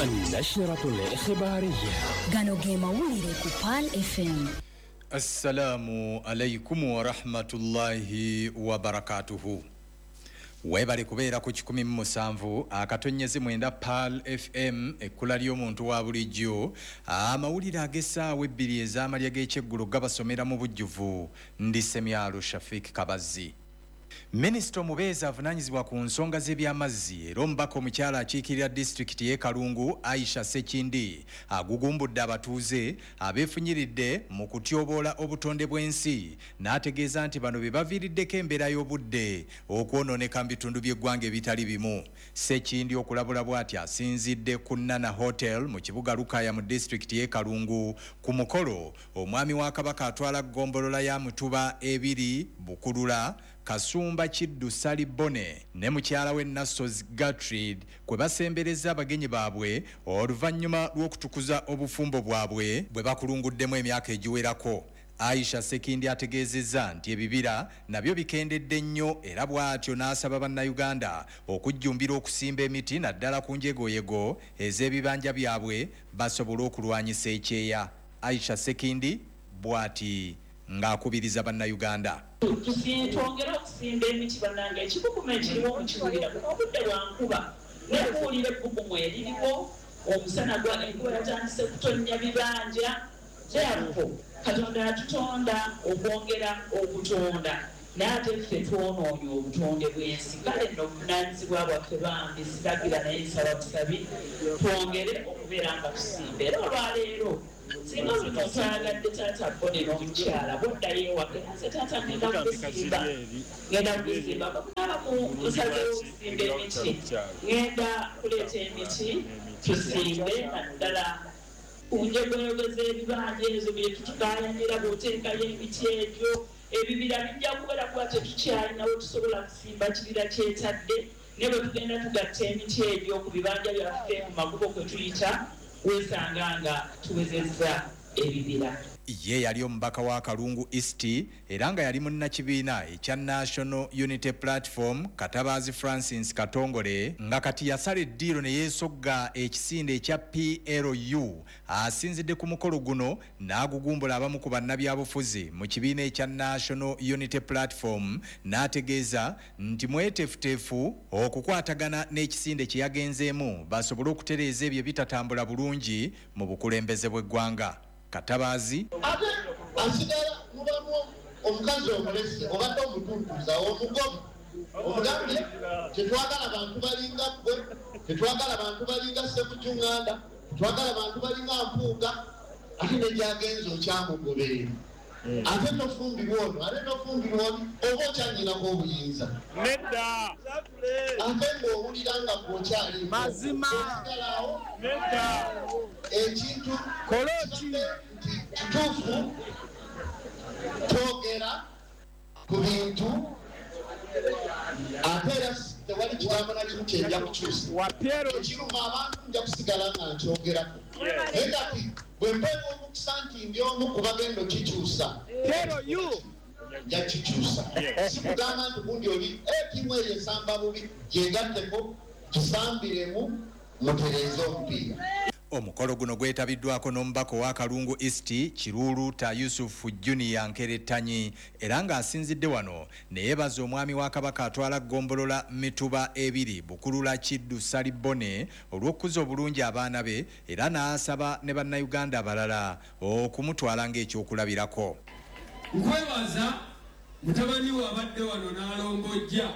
النشرة الإخبارية. Gano ge mawulire ku Pearl FM. Assalamu alaikum warahmatullahi wabarakatuhu. Weebale kubeera ku 107.9 Pearl FM, ekkula ly'omuntu wa bulijjo. Amawulire ag'essaawa 2 ez'amalya g'ekyeggulo gabasomera mu bujjuvu. Ndi Semyalo Shafik Kabazzi. Minisita omubeezi avunaanyizibwa ku nsonga z'ebyamazzi era omubaka omukyala akiikirira disitulikiti y'e Kalungu, Aisha Sekindi, agugumbudde abatuuze abeefunyiridde mu kutyoboola obutonde bw'ensi, n'ategeeza nti bano be baviiriddeko embeera y'obudde okwonooneka mu bitundu by'eggwanga ebitali bimu. Sekindi okulabula bw'ati asinzidde ku Nana Hotel mu kibuga Lukaya mu disitulikiti y'e Kalungu ku mukolo omwami wa Kabaka atwala ggombolola ya Mutuba 2 Bukulula, Kasumba Kiddu Sali Bone ne mukyala we Nassos Gertrude kwe basembereza abagenyi baabwe oluvannyuma lw'okutukuza obufumbo bwabwe bwe bakulunguddemu emyaka egiwerako. Aisha Sekindi ategeezezza nti ebibira nabyo bikendedde nnyo era bw'atyo n'asaba bannayuganda okujjumbira okusimba emiti naddala ku njegoyego ez'ebibanja byabwe basobole okulwanyisa ekyeya. Aisha Sekindi bw'ati ng'akubiriza bannayuganda. Twongere okusimba emiti bannange, ekibuguma ekiriwo mukiwulira, buno obudde bwa nkuba, naye kuwulira ebbugumu eririwo, omusana gwa enkuba yatandise kutonnya bibanja. Therefore, Katonda yatutonda okwongera okutonda, naye ate ffe twonoonye obutonde bw'ensi. Kale nno obuvunaanyizibwa bwaffe bambi siragira naye nsaba busabi twongere okubeera nga tusimba. Era olwaleero singa buli muntu ayagadde taata Bone n'omukyala bw'oddayo ewaka, nze taata ngenda kugusimba, bwe ku nsazeewo okusimba emiti, ngenda kuleeta emiti tusimbe naddala ku njegoyego z'ebibanja ezo bye tutukaayanira. Bw'oteekayo emiti egyo ebibira bijja kubeera kuba tetukyalinawo tusobola kusimba kibira kyetadde, naye bwe tugenda tugatta emiti egyo ku bibanja byaffe mu makubo kwe tuyita, weesanga nga tuwezezza ebibira. Ye yali omubaka wa Kalungu East era nga yali munnakibiina ekya National Unity Platform, Katabaazi Francis Katongole, nga kati yasala eddiiro ne yeesogga ekisinde ekya PLU, asinzidde ku mukolo guno n'agugumbula abamu ku bannabyabufuzi mu kibiina ekya National Unity Platform, n'ategeeza nti mweteefuteefu okukwatagana n'ekisinde kye yagenzeemu basobole okutereeza ebyo ebitatambula bulungi mu bukulembeze bw'eggwanga. Katabaazi ate asigala mubamu omukazi omulese obadde omutuntuza omugoba omugambye tetwagala bantu balinga ggwe, tetwagala bantu balinga Ssemukyunganda, tetwagala bantu balinga Mpuuga, ate negyagenza okyamugoberera, ate tofumbirwa ono, ate tofumbirwa ono, oba okyanyinako obuyinza. Nedda. Ate ng'owulira nga gwokyaliiko osigalawo. Nedda. Ekintu Koloki. Nti kituufu twogera ku bintu, ate era tewali kigambo na kimu kyenja kukyusa. Ekiruma abantu nja kusigala nga nkyogerako, naye kati bwe mpeebwa omukisa nti ndi omu ku bagenda okikyusa, nja kikyusa. Sikugamba nti gundi oli ttiimu eyo esamba bubi, gyegatteko tusambiremu mutereeze omupiira. Omukolo guno gwetabiddwako n'omubaka owa Kalungu East Kiruuluta Yusufu Junior Nkerettanyi, era ng'asinzidde wano ne yeebaza omwami wa Kabaka atwala ggombolola Mituba 2 Bukulula Kiddu Sali Bone olw'okukuza obulungi abaana be, era n'asaba ne bannayuganda abalala okumutwala ng'ekyokulabirako. Nkwebaza mutabani we abadde wano n'alombojja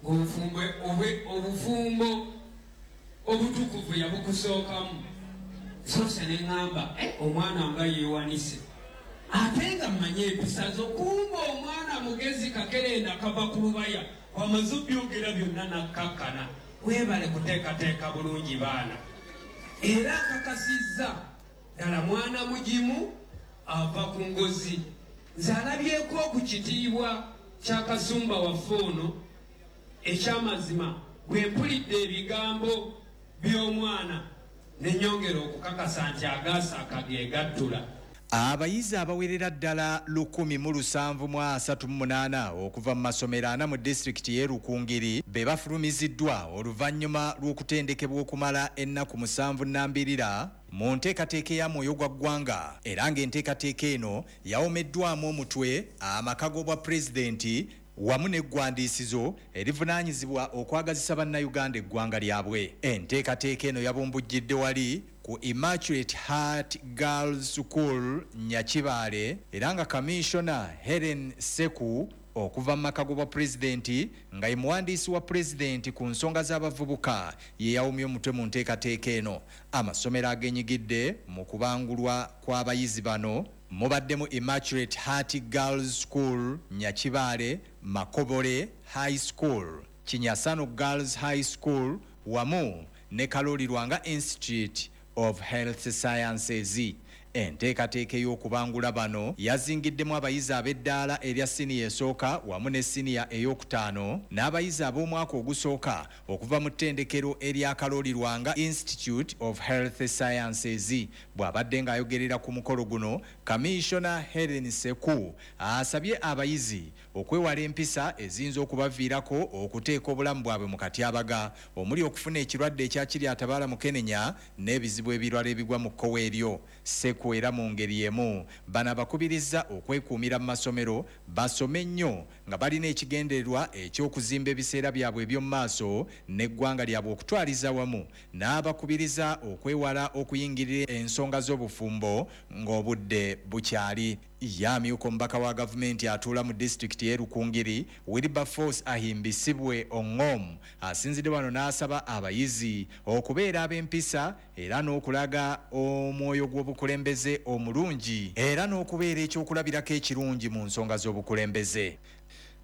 ng'obufumbo obutukuvu yabukusookamu. Soose ne ŋŋamba omwana nga yeewanise, ate nga mmanye empisa zo, kumba omwana mugezi kakerenda kava ku lubaya, wamaze obyogera byonna nakkakkana. Weebale kuteekateeka bulungi baana, era akakasizza ddala mwana mugimu ava ku ngozi. Nze alabyeko ku kitiibwa kya Kasumba waffe ono ekyamazima, bwe mpulidde ebigambo by'omwana ne nnyongera okukakasa nti agaasa akageegattula. Abayizi abawerera ddala 1738 okuva mu masomero 4 mu disitulikiti y'e Rukungiri be bafulumiziddwa oluvannyuma lw'okutendekebwa okumala ennaku 7 nambirira mu nteekateeka ya Mwoyo gwa Ggwanga, era ng'enteekateeka eno yawomeddwamu omutwe amaka g'obwa pulezidenti wamu n'eggwandiisizo erivunaanyizibwa okwagazisa bannayuganda eggwanga lyabwe. Enteekateeka eno yabumbujjidde wali ku Immaculate Heart Girls School Nyakibaale, era nga Kamishona Helen Seku okuva mu maka g'obwa pulezidenti nga ye muwandiisi wa pulezidenti ku nsonga z'abavubuka ye yawomye omutwe mu nteekateeka eno. Amasomero agenyigidde mu kubangulwa kw'abayizi bano mubaddemu Immaculate Heart Girls School Nyakibaale, Makobore High School, Kinyasano Girls High School wamu ne Kaloli Lwanga Institute of Health Sciences. Enteekateeka ey'okubangula bano yazingiddemu abayizi ab'eddaala erya siniya esooka wamu ne siniya ey'okutaano n'abayizi ab'omwaka ogusooka okuva mu ttendekero erya Kaloli Lwanga Institute of Health Sciences. Bw'abadde ng'ayogerera ku mukolo guno, Kamishona Helen Seku asabye abayizi okwewala empisa eziyinza okubaviirako okuteeka obulamu bwabwe mu katyabaga, omuli okufuna ekirwadde ekya Kiryatabaala Mukenenya n'ebizibu ebirala ebigwa mu kkowe eryo. Seku era mu ngeri emu bano abakubiriza okwekuumira mu masomero basome nnyo nga balina ekigendererwa eky'okuzimba ebiseera byabwe eby'omu maaso n'eggwanga lyabwe okutwaliza wamu, n'abakubiriza okwewala okuyingirira ensonga z'obufumbo ng'obudde bukyali. Ye amyuka omubaka wa gavumenti atuula mu disitulikiti y'e Rukungiri, Wilberforce Ahimbisibwe Ongom, asinzidde wano n'asaba abayizi okubeera ab'empisa era n'okulaga omwoyo gw'obukulembeze omulungi era n'okubeera ekyokulabirako ekirungi mu nsonga z'obukulembeze.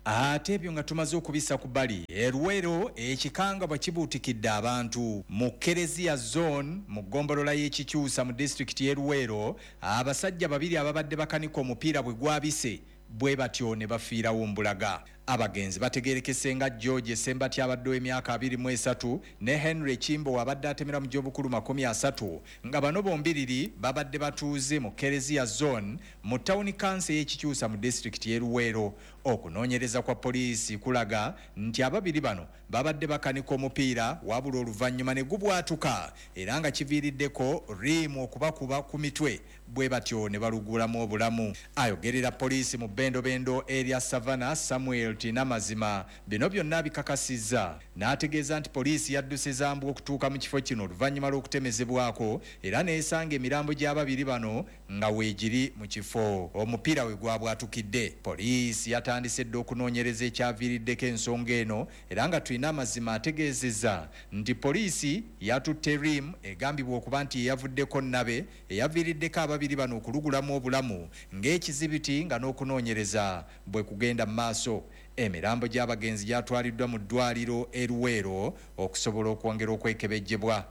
Ate ebyo nga tumaze okubissa ku bbali, e Luweero ekikanga bwe kibuutikidde abantu mu Kereziya Zone mu ggombolola y'Ekikyusa mu disitulikiti y'e Luweero, abasajja babiri ababadde bakanika omupiira bwe gwabise bwe batyo ne bafiirawo mbulaga. Abagenzi bategeerekese nga George Sembati abadde ow'emyaka 23 ne Henry Kimbo abadde atemera mu gy'obukulu 30, nga bano bombiriri babadde batuuze mu Kereziya Zone mu tawuni kanso ey'Ekikyusa mu disitulikiti y'e Luweero. Okunoonyereza kwa poliisi kulaga nti ababiri bano babadde bakanika omupiira wabula oluvannyuma ne gubwatuka, era nga kiviiriddeko riimu okubakuba ku mitwe bwe batyo ne balugulamu obulamu. Ayogerera poliisi mu bbendobendo erya Savannah, Samuel Tinamazima, bino byonna bikakasizza n'ategeeza nti poliisi yadduse zambwa okutuuka mu kifo kino oluvannyuma lw'okutemezebwako, era n'esanga emirambo gy'ababiri bano nga weegiri mu kifo omupiira we gwabwatukidde. Poliisi yatandise dda okunoonyereza ekyaviiriddeko ensonga eno, era nga Twinamazima ategeezezza nti poliisi yatutte riimu egambibwa okuba nti yeyavuddeko nnabe eyaviiriddeko ababiri bano okulugulamu obulamu ng'ekizibiti, nga n'okunoonyereza bwe kugenda mu maaso. Emirambo gy'abagenzi gyatwaliddwa mu ddwaliro e Luweero okusobola okwongera okwekebejjebwa.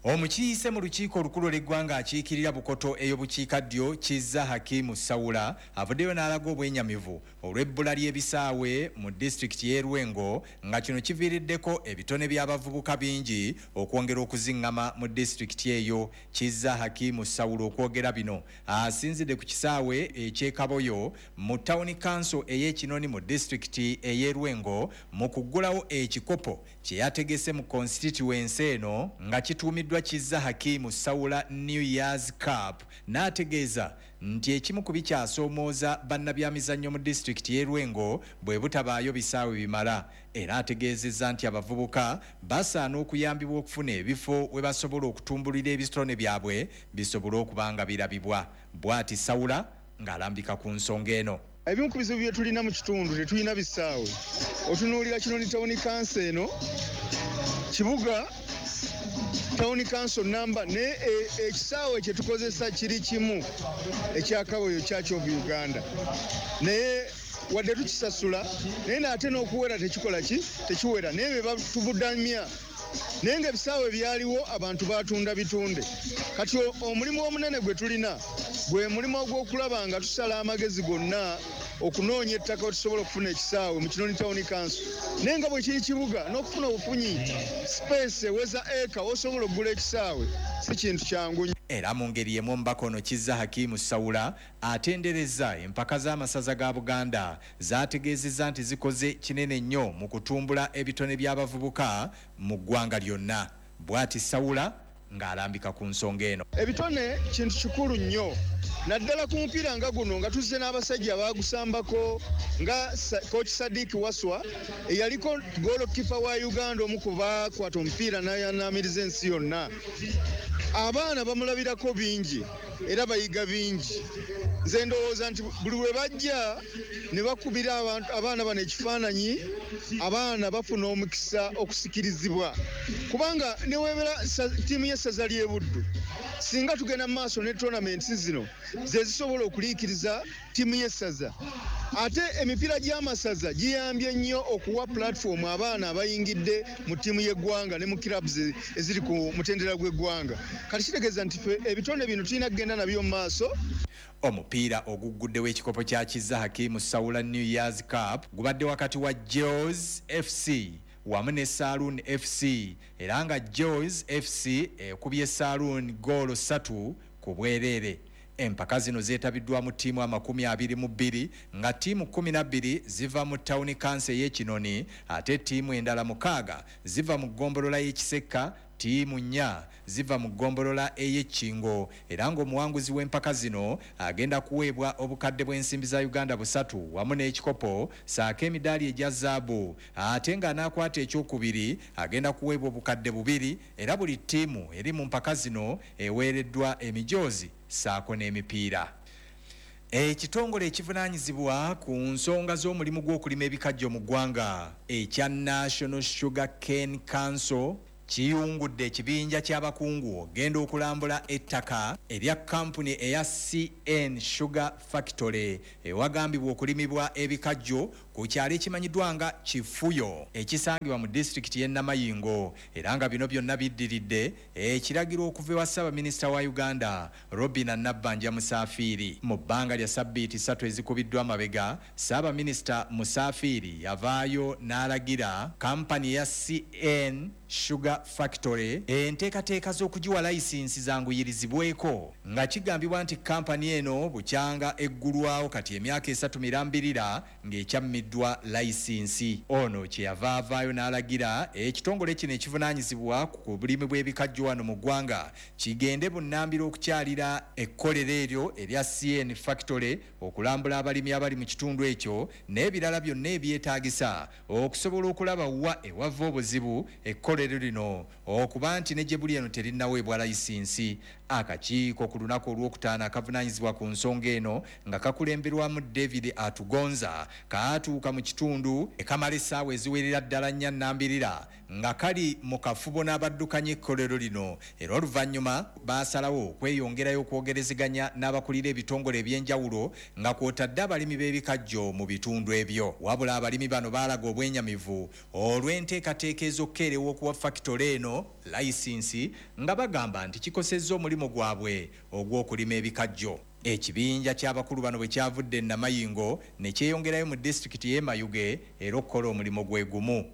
Omukiise mu lukiiko olukulu lw'eggwanga akiikirira Bukoto ey'obukiikaddyo Kizza Hakimu Sawula avuddeyo n'alaga obwenyamivu olw'ebbula ly'ebisaawe mu disitulikiti y'e Lwengo, nga kino kiviiriddeko ebitone by'abavubuka bingi okwongera okuziŋŋama mu disitulikiti eyo. Kizza Hakimu Sawula okwogera bino asinzidde ku kisaawe eky'e Kaboyo mu tawuni kanso ey'Ekinoni mu disitulikiti ey'e Lwengo mu kuggulawo ekikopo kye yategese mu constituency eno nga kituumiddwa Kizza Hakimu Sawula New Year's Cup, n'ategeeza nti ekimu ku bikyasoomooza bannabyamizannyo mu disitulikiti y'e Lwengo bwe butabaayo bisaawe bimala. Era ategeezezza nti abavubuka basaana okuyambibwa okufuna ebifo we basobola okutumbulira ebitone byabwe bisobole okuba nga birabibwa. Bw'ati Sawula ng'alambika ku nsonga eno. Ebimu ku bizibu bye tulina mu kitundu, tetulina bisaawe. Otunuulira Kinoni tawuni kanso eno, kibuga tawuni kanso namba, naye ekisaawe kye tukozesa kiri kimu ekya Kaboyo Church of Uganda, naye wadde tukisasula naye n'ate n'okuwera tekikola ki, tekiwera, naye be batubudamya. Naye ng'ebisaawe byaliwo abantu batunda bitunde. Kati omulimu omunene gwe tulina gwe mulimu ogw'okulaba nga tusala amagezi gonna Okunoonya ettaka tusobola okufuna ekisaawe mu Kinoni Town Council, naye nga bwe kiri kibuga n'okufuna obufunyi space eweza eka osobola okugula ekisaawe si kintu kyangu. Era mu ngeri y'emu omubaka ono Kizza Hakimu Sawula atenderezza empaka z'amasaza ga Buganda zaategeezezza nti zikoze kinene nnyo mu kutumbula ebitone by'abavubuka mu ggwanga lyonna. Bw'ati Sawula ng'alambika ku nsonga eno. Ebitone kintu kikulu nnyo naddala ku mupiira nga guno nga tuzze n'abasajja abaagusambako nga Coach Sadiq Waswa eyaliko goalkeeper wa Uganda, omu ku baakwata omupiira n'anaamiriza ensi yonna. Abaana bamulabirako bingi era bayiga bingi. Nze ndowooza nti buli lwe bajja ne bakubira abaana bano ekifaananyi, abaana bafuna omukisa okusikirizibwa, kubanga ne weebera ttiimu y'essaza ly'e Buddu, singa tugenda mu maaso ne tournaments zino ze zisobola okuliikiriza ttiimu y'essaza. Ate emipiira gy'amasaza giyambye nnyo okuwa platform abaana abayingidde mu ttiimu y'eggwanga ne mu clubs eziri ku mutendera gw'eggwanga. Kati kitegeeza nti ffe ebitone bino tulina kugenda nabyo mu maaso. Omupiira ogugguddewo ekikopo kya Kizza Hakimu Sawula New Year's Cup gubadde wakati wa Jaws FC wamu ne Saloon FC, era nga Jaws FC ekubye Saloon goolo 3 ku bwereere. Empaka zino zeetabiddwamu ttiimu 22 nga ttiimu 12 ziva mu Town Council ey'e Kinoni, ate ttiimu endala 6 ziva mu ggombolola y'e Kisekka, ttiimu 4 ziva mu ggombolola ey'e Kingo, era ng'omuwanguzi w'empaka zino agenda kuweebwa obukadde bw'ensimbi za Uganda 3 wamu n'ekikopo ssaako emidaali egya zaabu, ate ng'anaakwata ekyokubiri agenda kuweebwa obukadde 2, era buli ttiimu eri mu mpaka zino eweereddwa emijoozi ssaako n'emipiira. Ekitongole ekivunaanyizibwa ku nsonga z'omulimu gw'okulima ebikajjo mu ggwanga ekya National Sugar Cane Council kiyungudde ekibinja ky'abakungu ogenda okulambula ettaka erya kampuni eya CN Sugar Factory ewagambibwa okulimibwa ebikajjo ku kyalo ekimanyiddwa nga Kifuyo ekisangibwa mu disitulikiti y'e Namayingo, era nga bino byonna biddiridde ekiragiro okuva ewa Ssaabaminisita wa Uganda Robinah Nabbanja Musafiri. Mu bbanga lya sabbiiti 3 ezikubiddwa amabega, Ssaabaminisita Musafiri yavaayo n'alagira kampani eya CN Sugar Factory enteekateeka z'okugiwa layisinsi zanguyirizibweko, nga kigambibwa nti kampani eno bukyanga eggulwawo kati emyaka 3 mirambirira ng'ekyammiddwa layisinsi. Ono kyeyava avaayo n'alagira ekitongole kino ekivunaanyizibwa ku bulimi bw'ebikajjo wano mu ggwanga kigende bunnambiro okukyalira ekkolero eryo erya CN Factory okulambula abalimi abali mu kitundu ekyo n'ebirala byonna ebyetaagisa okusobola okulaba wa ewava obuzibu ekkolero lino okuba nti ne gye buli eno terinnaweebwa layisinsi. Akakiiko ku lunaku olwokutaano akavunaanyizibwa ku nsonga eno nga kakulemberwamu David Atugonza kaatuuka mu kitundu ekamala essaawa eziwerera ddala 4 nnambirira nga kali mu kafubo n'abaddukanya ekkolero lino, era oluvannyuma baasalawo okweyongerayo okwogerezeganya n'abakulira ebitongole ebyenjawulo nga kw'otadde abalimi b'ebikajjo mu bitundu ebyo. Wabula abalimi bano baalaga obwenyamivu olw'enteekateeka ez'okukeerewa okuwa fakitole eno layisinsi nga bagamba nti kikosezza omulimu gwabwe ogw'okulima ebikajjo. Ekibinja ky'abakulu bano bwe kyavudde e Namayingo ne kyeyongerayo mu disitulikiti y'e Mayuge era okukola omulimu gwe gumu.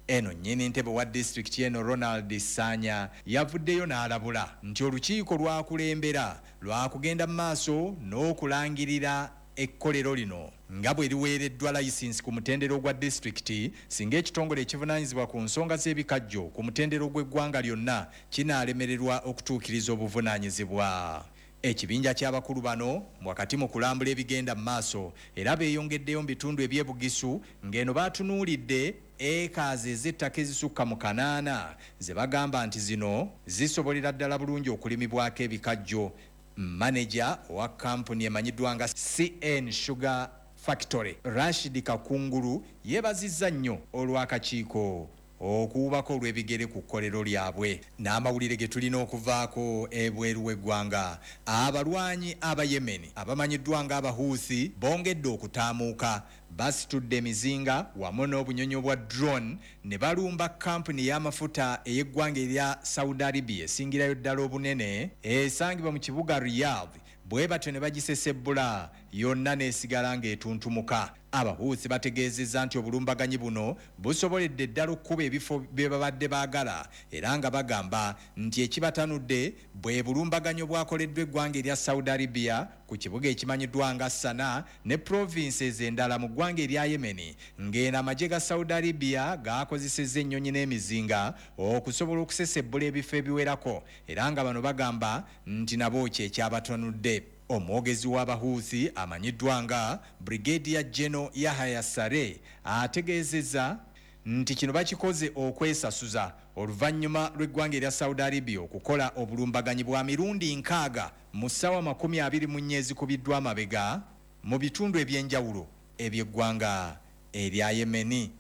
Eno nnyini ntebe wa disitulikiti eno Ronald Sanya yavuddeyo n'alabula nti olukiiko lwakulembera lwakugenda mu maaso n'okulangirira ekkolero lino nga bwe liweereddwa layisinsi ku mutendera ogwa disitulikiti singa ekitongole ekivunaanyizibwa ku nsonga z'ebikajjo ku mutendera ogw'eggwanga lyonna kinaalemererwa okutuukiriza obuvunaanyizibwa. Ekibinja ky'abakulu bano wakati mu kulambula ebigenda mu maaso era beeyongeddeyo mu bitundu eby'e Bugisu ng'eno baatunuulidde ekaazi ez'ettaka ezisukka mu 8 ze bagamba nti zino zisobolera ddala bulungi okulimibwako ebikajjo. Maneja owa kampuni emanyiddwa nga CN Sugar Factory Rashid Kakungulu yeebazizza nnyo olw'akakiiko okuwubako olw'ebigere ku kkolero lyabwe. N'amawulire ge tulina okuvaako ebweru w'eggwanga, abalwanyi aba Yemen abamanyiddwa nga Abahuthi bongedde okutaamuuka, basitudde emizinga wamu n'obunyonyi obwa drone ne balumba kampuni y'amafuta ey'eggwanga erya Saudi Arabia esingirayo ddala obunene esangibwa mu kibuga Riyadh, bwe batyo ne bagisesebbula yonna n'esigala ng'etuntumuka. Abahuusi bategeezezza nti obulumbaganyi buno busoboledde ddala okukuba ebifo bye babadde baagala, era nga bagamba nti ekibatanudde bwe bulumbaganyi obwakoleddwa eggwanga erya Saudi Arabia ku kibuga ekimanyiddwa nga Sanaa ne provinces endala mu ggwanga erya Yemen, ng'eno amagye ga Saudi Arabia gaakozesezza ennyonyi n'emizinga okusobola okusesebbula ebifo ebiwerako, era nga bano bagamba nti nabo kye kyabatanudde. Omwogezi w'Abahuuthi amanyiddwa nga Brigadier General Yahya Sare ategeezezza nti kino bakikoze okwesasuza oluvannyuma lw'eggwanga erya Saudi Arabia okukola obulumbaganyi bwa mirundi 60 mu ssaawa 24 ezikubiddwa amabega mu bitundu eby'enjawulo eby'eggwanga erya Yemeni.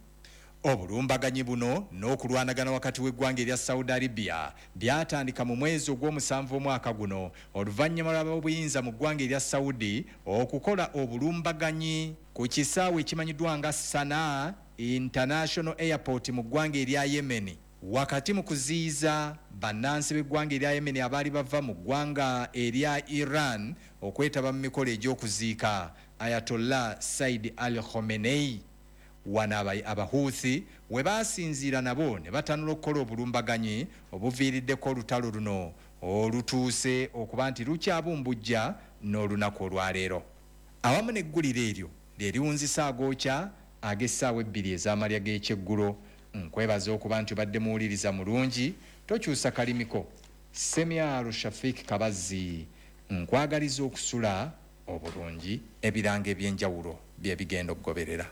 Obulumbaganyi buno n'okulwanagana wakati w'eggwanga erya Saudi Arabia byatandika mu mwezi ogw'omusanvu omwaka guno oluvannyuma lw'ab'obuyinza mu ggwanga erya Saudi okukola obulumbaganyi ku kisaawe ekimanyiddwa nga Sanaa International Airport mu ggwanga erya Yemen, wakati mu kuziyiza bannansi b'eggwanga erya Yemen abaali bava mu ggwanga erya Iran okwetaba mu mikolo egy'okuziika Ayatollah Said Ali Khamenei. Wano Abahuuthi we baasinziira nabo ne batanula okukola obulumbaganyi obuviiriddeko olutalo luno olutuuse okuba nti lukyabumbujja n'olunaku olwaleero. Awamu n'eggulire eryo lye liwunzisa agookya ag'essaawa 2 ez'amalya g'ekyeggulo. Nkwebaza okuba nti obadde muwuliriza mulungi, tokyusa kalimiko. Semyalo Shafik Kabazzi nkwagaliza okusula obulungi. Ebirango eby'enjawulo bye bigenda okugoberera.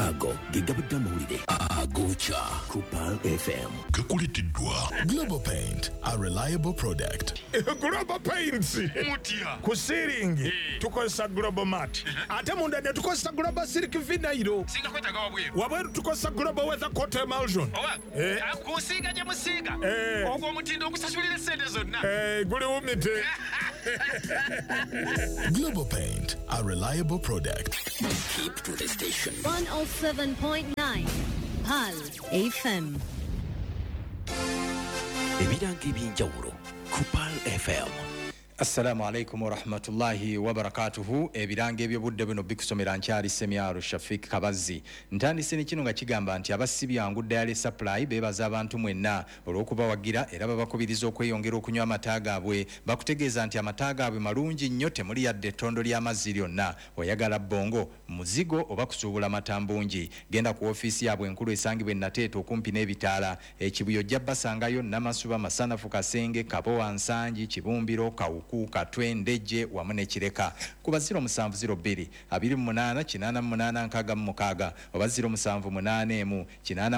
Ago ge gabadde amawulire agokya ku Pearl FM. Gakuleteddwa Global Paint, a reliable product. Global Paints Mutya. Ku ceiling tukozesa Global Mat, ate munda ne tukozesa Global Silk Vinyl. Singa kwetaaga wabweru. Wabweru tukozesa Global Weather Coat Emulsion. Owa. Kusiiga gye musiiga. Ogwo omutindo ogusasulira essente zonna. Guli wumite. Global Paint, a reliable product. Keep to the station. 107.9 Pearl FM. Ebirango eby'enjawulo ku Pearl FM. Assalamu alaikum warahmatullahi wabarakatuhu. Ebirango eby'obudde buno bikusomera nkyali Semyalo Shafik Kabazzi. Ntandise ne kino nga kigamba nti abasibyangu Dairy Supply beebaza abantu mwenna olw'okubawagira, era babakubiriza okweyongera okunywa amata gaabwe. Bakutegeeza nti amata gaabwe malungi nnyo, temuli yadde ettondo ly'amazzi lyonna. Oyagala bbongo, muzigo oba kusuubula mata mbungi, genda ku ofiisi yaabwe enkulu esangibwa e Nateete okumpi n'ebitaala. Ekibuye ojja basangayo Namasuba, Masanafu, Kasenge, Kabowa, Nsangi, Kibumbiro, Kawuku, Katwe, Ndejje wamu ne Kireka. Kuba 0702 28 88 66 oba 0781 89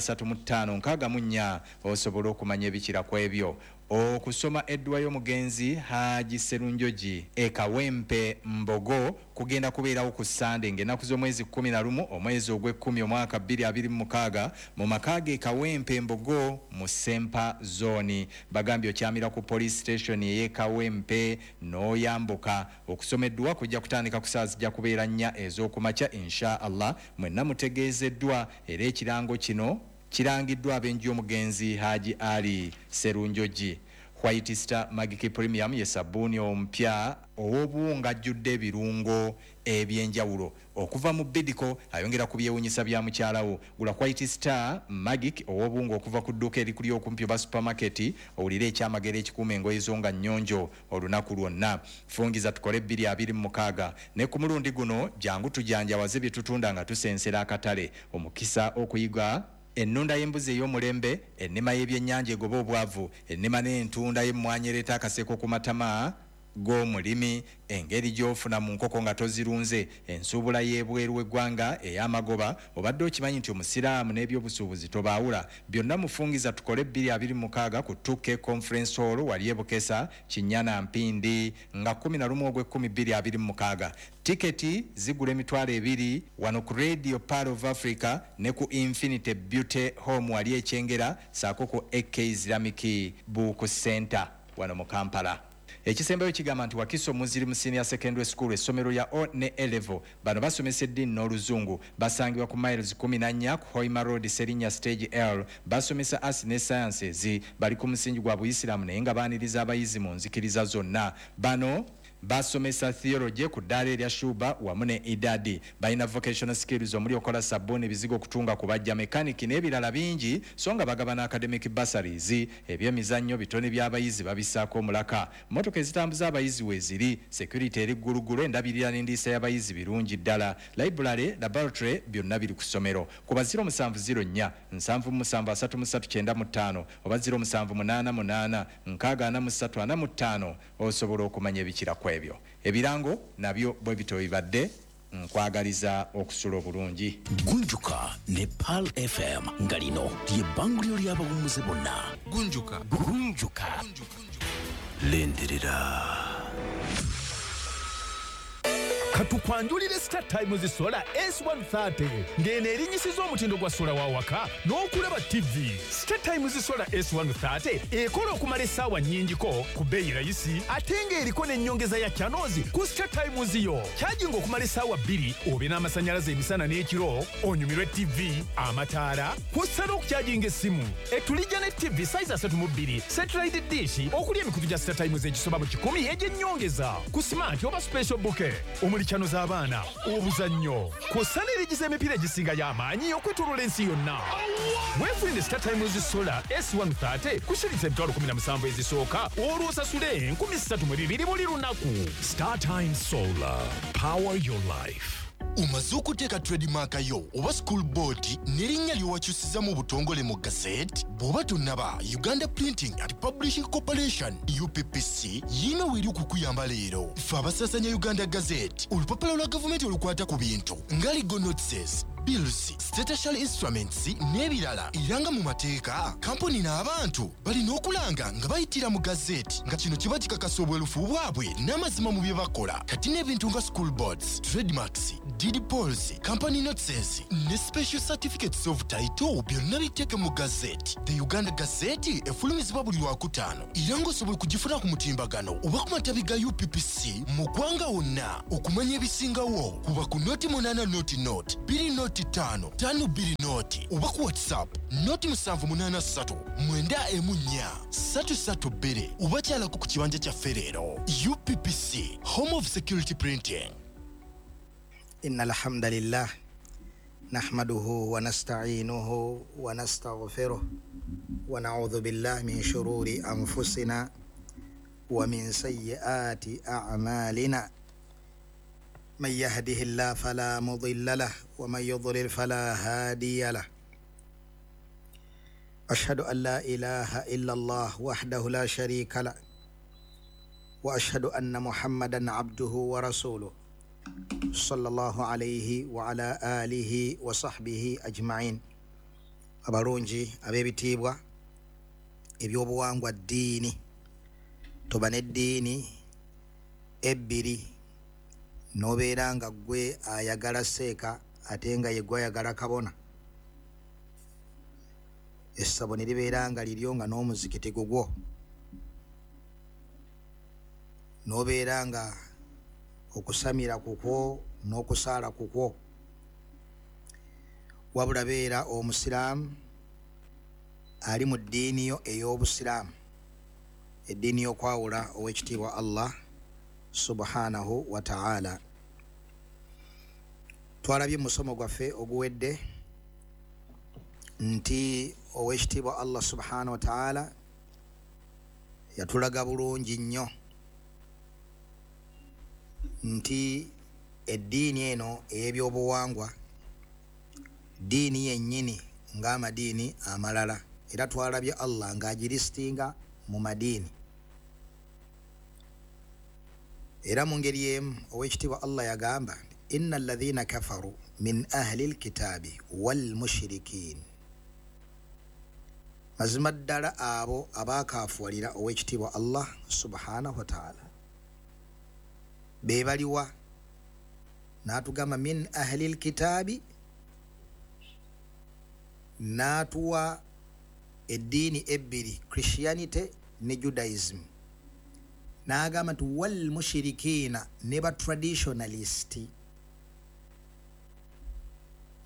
35 64 osobola okumanya ebikira ku ebyo. Okusoma edduwa y'omugenzi Haji Serunjogi e Kawempe Mbogo kugenda kubeerawo ku Ssande ng'ennaku z'omwezi 11 omwezi ogw'ekkumi omwaka 2026 mu maka ge Kawempe Mbogo mu Sempa Zone. Bagambye okyamira ku police station ey'e Kawempe n'oyambuka. Okusoma edduwa kujja kutandika ku ssaawa zijja kubeera 4 ez'okumakya insha Allah. Mwenna mutegeezeddwa, era ekirango kino kirangiddwa ab'enju y'omugenzi Haji Ali Serunjogi. White Star Magic Premium ye sabbuuni omupya ow'obuwunga ajjudde ebirungo ebyenjawulo okuva mu Bidco, ayongera ku byewunyisa bya mukyalawo. Gula White Star Magic ow'obuwunga okuva ku dduuka erikuli okumpi oba supermarket, owulire ekyamagero ekikuuma engoye zo nga nnyonjo olunaku lwonna. Fungiza tukole 226 ne ku mulundi guno jangu tujanjawaze bye tutunda nga tusensera akatale. Omukisa okuyiga ennunda y'embuzi ey'omulembe, ennima y'ebyennyanja egoba obwavu, ennima n'entunda y'emmwanyi ereeta akaseko ku matama g'omulimi, engeri gy'ofuna mu nkoko nga tozirunze, ensuubula y'ebweru w'eggwanga ey'amagoba. Obadde okimanyi nti omusiraamu n'ebyobusuubuzi tobaawula? Byonna mufungiza tukole 226 ku 2K Conference Hall wali e Bukesa, Kinyana Mpindi nga 11 ogw'ekkumi 2026. Tiketi zigula 20,000 wano ku Radio Pearl of Africa ne ku Infinity Beauty Home wali e Kyengera, ssaako ku AK Islamic Book Center wano mu Kampala. Ekisembayo kigamba nti Wakiso Muslim Senior Secondary School, essomero lya O ne A level, bano basomesa eddiini n'oluzungu. Basangibwa ku miles 14 ku Hoima Road, Serinya Stage L. Basomesa arts ne sciences. Bali ku musingi gwa Buyisiraamu naye nga baaniriza abayizi mu nzikiriza zonna. Bano Basomesa theology ku ddaala erya Shuba wamu ne Idadi. Balina vocational skills omuli okola sabbuuni, ebizigo, okutunga, kubajja, mechanic n'ebirala bingi, so nga bagabana academic bursaries. Ebyemizannyo bitone by'abayizi babissaako omulaka. Mmotoka ezitambuza abayizi weeziri, security eri ggulugulu, endabirira n'endiisa y'abayizi birungi ddala. Library, laboratory byonna biri ku ssomero. Kuba 0704 77 33 95 oba 0788 64 45 osobola okumanya ebikira ku ebyo. Ebirango nabyo bwe bityo bibadde. Nkwagaliza okusula obulungi. Gunjuka ne Pearl FM, nga lino lye bbanguliro ly'abawummuze bonna. Gunjuka. Gunjuka, lindirira. Katukwanjulire Star Times Solar S130, ng'eno erinyisiza omutindo gwa sola wa waka n'okulaba TV. Star Times Solar S130 ekola okumala essaawa nnyingiko ku bbeeyi rayisi, ate ng'eriko n'ennyongeza ya channels ku Star Times yo. Kyajinga okumala essaawa 2 obe n'amasannyalaze emisana n'ekiro, onyumirwe TV, amataala, kw'ossa n'okukyajinga essimu. Etulijja ne TV size 32, satellite dish okuli emikutu gya Star Times egisoba mu 100 egy'ennyongeza ku smart oba special bouquet omuli channel z'abaana, obuzannyo, kw'ossa n'erigiza emipiira egisinga y'amaanyi okwetooloola ensi yonna. Weefunire Star Times Solar S130 ku shilingi 17,000 ezisooka, olwo osasule 3,200 buli lunaku. Star Times Solar, power your life. Omaze okuteeka trademark yo oba school board n'erinnya ly'owakyusiza mu butongole mu gazette? Bw'oba tonnaba, Uganda Printing and Publishing Corporation, UPPC, yiina weeri okukuyamba leero. Ffe abasaasanya Uganda Gazette, olupapula lwa gavumenti olukwata ku bintu nga legal notices, bills, statutory instruments n'ebirala. Era nga mu mateeka, kampuni n'abantu balina okulanga nga bayitira mu gazeti, nga kino kiba kikakasa obwerufu bwabwe n'amazima mu bye bakola. Kati n'ebintu nga school boards, trademarks, deed polls, company notices ne special certificates of title byonna biteeke mu gazeti. The Uganda Gazette efulumizibwa buli Lwakutaano, era ng'osobola okugifuna ku mutimbagano oba ku matabi ga UPPC mu ggwanga wonna. Okumanya ebisingawo, kuba ku 080 00 20 5 5 20 oba ku WhatsApp 078 314 332 oba kyalako ku kibanja kyaffe leero. UPPC, home of security printing. إن الحمد لله نحمده ونستعينه ونستغفره ونعوذ بالله من شرور أنفسنا ومن سيئات أعمالنا، من يهده الله فلا مضل له ومن يضلل فلا هادي له، أشهد أن لا إله إلا الله وحده لا شريك له، وأشهد أن محمدا عبده ورسوله صلى الله عليه وعلى آله وصحبه أجمعين. Abalungi ab'ebitiibwa, ebyobuwangwa ddiini. Toba n'eddiini ebbiri n'obeera nga ggwe ayagala seeka ate nga ye ggwe ayagala kabona, essabo ne libeera nga liryo nga n'omuzikiti gugwo, n'obeera nga okusamira kukwo n'okusaala kukwo. Wabula beera omusiraamu ali mu ddiini yo ey'obusiraamu, eddiini y'okwawula ow'ekitiibwa Allah subhanahu wa ta'ala. Twalabye mu musomo gwaffe oguwedde nti ow'ekitiibwa Allah subhanahu wa ta'ala yatulaga bulungi nnyo nti eddiini eno ey'ebyobuwangwa ddiini yennyini ng'amadiini amalala, era twalabye Allah ng'agiristinga mu madiini. Era mu ngeri emu ow'ekitiibwa Allah yagamba, inna alladhina kafaru min ahli lkitaabi wal mushrikin, mazima ddala abo abaakaafuwalira ow'ekitiibwa Allah subhanahu wa ta'ala be baliwa? N'atugamba min ahli lkitaabi, n'atuwa eddiini ebbiri, Christianity ne Judaism, n'agamba nti wal mushirikiina, ne ba traditionalist,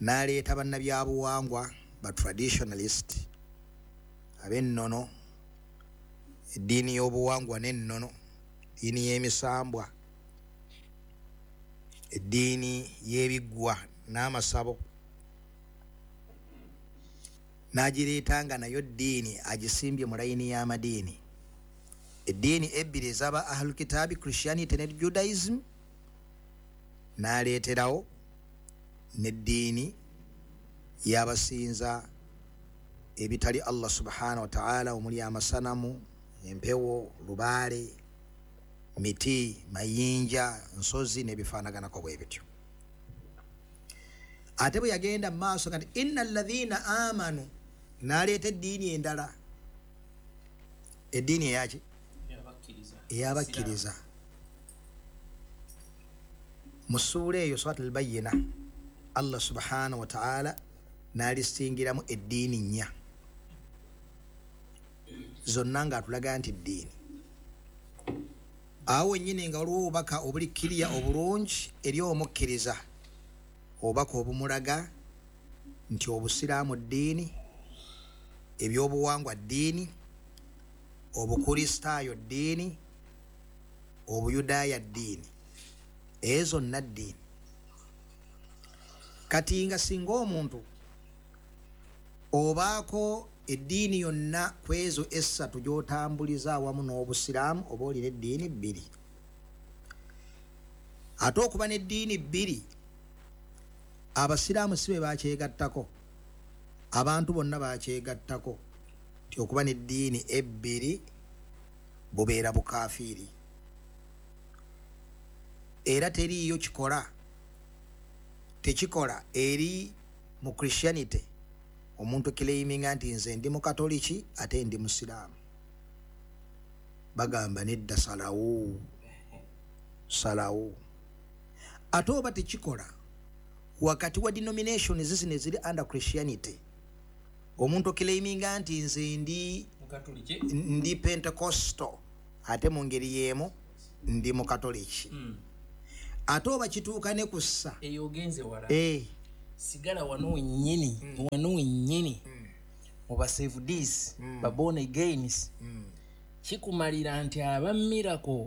n'aleeta bannabyabuwangwa ba traditionalist ab'ennono, eddiini y'obuwangwa n'ennono, ddiini y'emisambwa. Eddiini y'ebiggwa n'amasabo n'agireeta nga nayo ddiini agisimbye mu layini y'amadiini. Eddiini ebbiri ez'aba ahlulkitaabi, Christianity ne Judaism, n'aleeterawo n'eddiini y'abasinza ebitali Allah subhanahu wa ta'ala, omuli amasanamu, empewo, lubaale, miti, mayinja, nsozi n'ebifaanaganako bwe bityo. Ate bwe yagenda mu maaso kati inna alladhina amanu, n'aleeta eddiini endala, eddiini eyaki? Eyabakkiriza. Mu ssuula eyo Surat al-Bayyina, Allah subhanahu wa ta'ala n'alisingiramu eddiini nnya zonna ng'atulaga nti ddiini. Awo wennyini nga waliwo obubaka obuli kiriya obulungi eri omukkiriza, obubaka obumulaga nti obusiraamu ddiini, ebyobuwangwa ddiini, obukristaayo ddiini, obuyudaaya ddiini, ezo zonna ddiini. Kati nga singa omuntu obaako eddiini yonna ku ezo essatu gy'otambuliza awamu n'obusiraamu, oba olina eddiini bbiri. Ate okuba n'eddiini bbiri, abasiraamu si be bakyegattako, abantu bonna bakyegattako nti okuba n'eddiini ebbiri bubeera bukafiiri, era teriiyo kikola tekikola eri mu Christianity omuntu claiminga nti nze ndi mukatoliki ate ndi musiraamu. Bagamba nedda, salawo salawo. Ate oba tekikola wakati wa denomination zino eziri under Christianity, omuntu claiminga nti nze ndi Pentecostal ate mu ngeri y'emu ndi mukatoliki. Ate oba kituuka ne kussa eyo ogenze wala, sigala wano wennyini, wano wennyini mu ba saveds, ba born agains, kikumalira nti aba miracle